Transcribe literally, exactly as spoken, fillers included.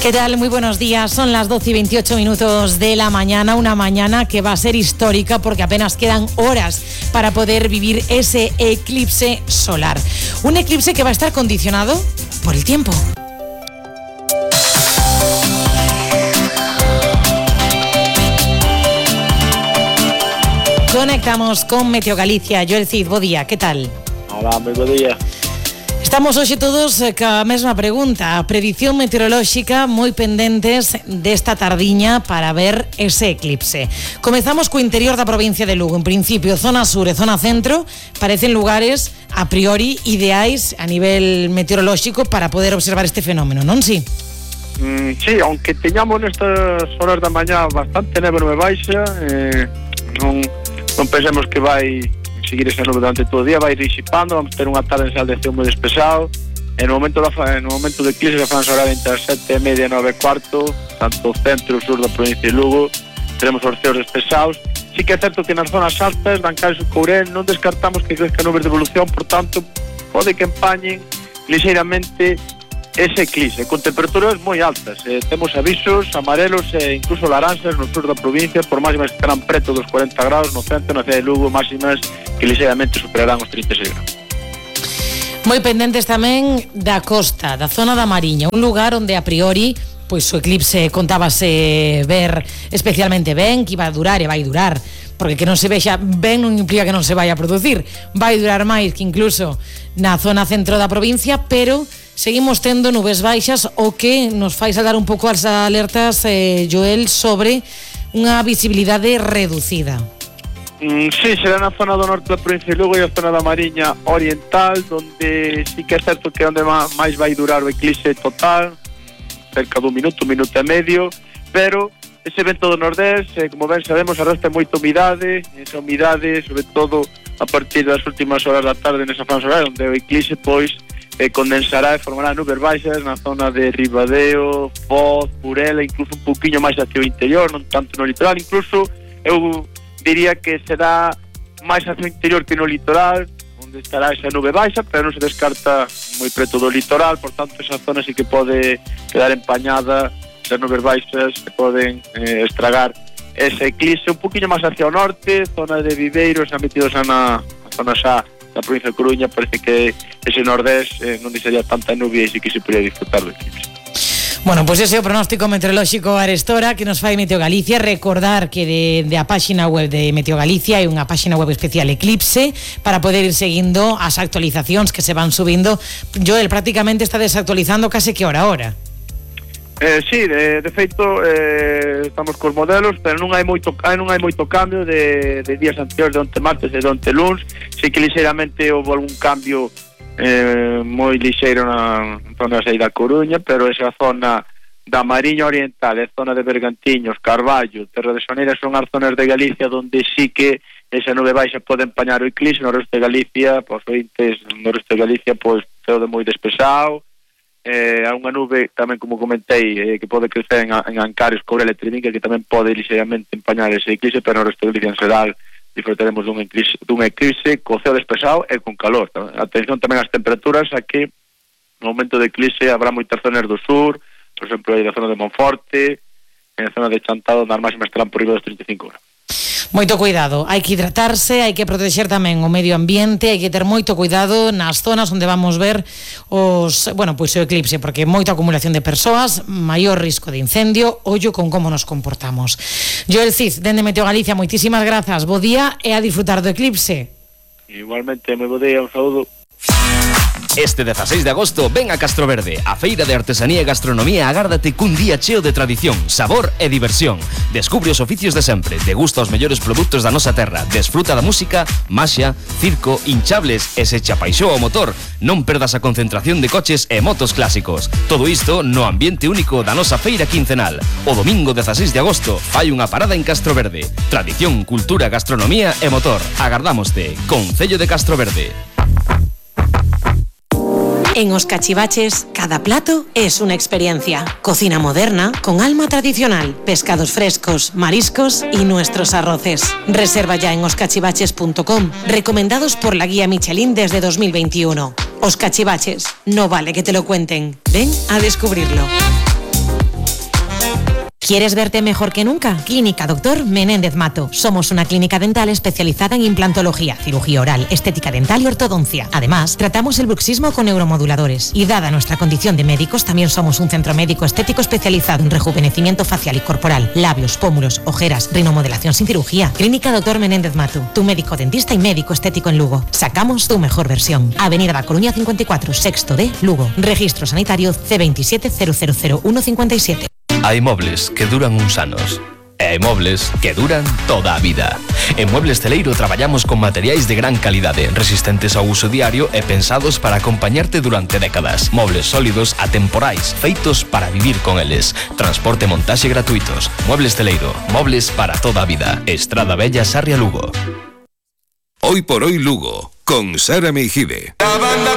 ¿Qué tal? Muy buenos días. Son las doce y veintiocho minutos de la mañana. Una mañana que va a ser histórica porque apenas quedan horas para poder vivir ese eclipse solar. Un eclipse que va a estar condicionado por el tiempo. Conectamos con Meteo Galicia. Joel Cid, bo día, ¿qué tal? Hola, moi bo día. Estamos hoxe todos ca mesma pregunta. Predicción meteorolóxica moi pendentes desta tardiña para ver ese eclipse. Comezamos co interior da provincia de Lugo. En principio, zona sur e zona centro parecen lugares a priori ideais a nivel meteorolóxico para poder observar este fenómeno, non si? Mm, sí, aunque teñamos nestas horas da mañá bastante neve nube baixa, eh, non, non pensemos que vai seguir esa nube durante todo o día, vai disipando, vamos ter unha tarde en sal de ceo moi despexado. En o momento da no momento do eclipse da franja horaria entre as sete e media e nove e cuarto, tanto o centro e o sur da provincia de Lugo, teremos os ceos despesados. Sí que é certo que nas zonas altas, Dancares e Courel, non descartamos que crezca nubes de evolución, por tanto, pode que empañen ligeiramente ese eclipse, con temperaturas moi altas. Eh, temos avisos amarelos e incluso laranxas no sur da provincia, por máximas que estarán preto dos cuarenta graus, no centro, na cidade de Lugo, máximas que ligeiramente superarán os trinta e seis graus. Moi pendentes tamén da costa, da zona da Mariña, un lugar onde a priori pois o eclipse contábase ver especialmente ben, que iba a durar e vai durar, porque que non se vexa ben non implica que non se vai a producir, vai durar máis que incluso na zona centro da provincia, pero seguimos tendo nubes baixas, o que nos fai saltar un pouco as alertas, eh, Joel, sobre unha visibilidade reducida. Mm, sí, será na zona do norte da provincia de Lugo e a zona da Mariña Oriental, donde sí que é certo que é onde máis vai durar o eclipse total, cerca dun minuto, un minuto e medio, pero ese vento do nordés, eh, como ben sabemos, arrastra moita humidade, esa humidade, sobre todo a partir das últimas horas da tarde nesa franja horaria, onde o eclipse, pois, eh, condensará e formará nubes baixas na zona de Ribadeo, Foz, Burela, incluso un pouquiño máis hacia o interior, non tanto no litoral, incluso eu diría que será máis hacia o interior que no litoral, onde estará esa nube baixa, pero non se descarta moi preto do litoral, por tanto esa zona sí que pode quedar empañada, esas nubes baixas que poden eh, estragar ese eclipse un poquinho máis hacia o norte, zona de Viveiros, xa metidos na, na zona xa da provincia de Coruña, parece que ese nordés eh, non deixaría tanta nube e sí que se podría disfrutar do eclipse. Bueno, pois pues ese é o pronóstico meteorolóxico arestora que nos fai Meteo Galicia. Recordar que de, de a páxina web de Meteo Galicia hai unha páxina web especial Eclipse para poder ir seguindo as actualizacións que se van subindo. Joel, prácticamente está desactualizando case que hora a hora. Eh, sí, de, de feito eh, estamos cos modelos, pero non hai moito non hai moito cambio de, de días anteriores, de onte martes e de onte luns. Sí que ligeiramente houve algún cambio eh, moi lixeiro na zona da Coruña, pero esa zona da Mariña Oriental, a zona de Bergantiños, Carballo, Terra de Soneira son as zonas de Galicia onde sí que esa nube baixa pode empañar o eclipse. No resto de Galicia, pois ointes, no resto de Galicia, pois ceo de moi despexado. Eh, há unha nube tamén, como comentei, eh, que pode crecer en, en Ancares, Courel e Treviño, que tamén pode ligeiramente empañar ese eclipse, pero no resto de Galicia en xeral disfrutaremos dun eclipse, dun eclipse co ceo despexado e con calor. Atención tamén ás temperaturas, a que no momento de eclipse habrá moitas zonas do sur, por exemplo, aí da zona de Monforte, en a zona de Chantado, nas máximas estarán por riba dos trinta e cinco graus. Moito cuidado, hai que hidratarse, hai que protexer tamén o medio ambiente, hai que ter moito cuidado nas zonas onde vamos ver os, bueno, pois o eclipse, porque moita acumulación de persoas, maior risco de incendio, ollo con como nos comportamos. Joel Cid, dende Meteo Galicia, moitísimas grazas, bo día e a disfrutar do eclipse. Igualmente, moi bo día, un saúdo. Este dezaseis de agosto ven a Castroverde, a feira de artesanía e gastronomía. Agárdate cun día cheo de tradición, sabor e diversión. Descubre os oficios de sempre, degusta os mellores produtos da nosa terra, desfruta da música, maxia, circo, hinchables e se che apaixoa o motor, non perdas a concentración de coches e motos clásicos. Todo isto no ambiente único da nosa feira quincenal. O domingo dezaseis de agosto fai unha parada en Castroverde. Tradición, cultura, gastronomía e motor. Agardámoste. Concello de Castroverde. En Os Cachivaches, cada plato es una experiencia. Cocina moderna, con alma tradicional, pescados frescos, mariscos y nuestros arroces. Reserva ya en os cachivaches punto com, recomendados por la guía Michelin desde dos mil veintiuno. Os Cachivaches, no vale que te lo cuenten. Ven a descubrirlo. ¿Quieres verte mejor que nunca? Clínica Doctor Menéndez Mato. Somos una clínica dental especializada en implantología, cirugía oral, estética dental y ortodoncia. Además, tratamos el bruxismo con neuromoduladores. Y dada nuestra condición de médicos, también somos un centro médico estético especializado en rejuvenecimiento facial y corporal, labios, pómulos, ojeras, rinomodelación sin cirugía. Clínica Doctor Menéndez Mato. Tu médico dentista y médico estético en Lugo. Sacamos tu mejor versión. Avenida da Coruña cincuenta y cuatro, sexto D, Lugo. Registro sanitario C veintisiete cero cero cero uno cincuenta y siete. Hai mobles que duran uns anos e hai mobles que duran toda a vida. En Muebles Celeiro traballamos con materiais de gran calidade, resistentes ao uso diario e pensados para acompañarte durante décadas. Mobles sólidos, atemporais, feitos para vivir con eles. Transporte e montaxe gratuitos. Muebles Celeiro, mobles para toda a vida. Estrada Bella, Sarria, Lugo. Hoy por hoy Lugo, con Sara Meijide.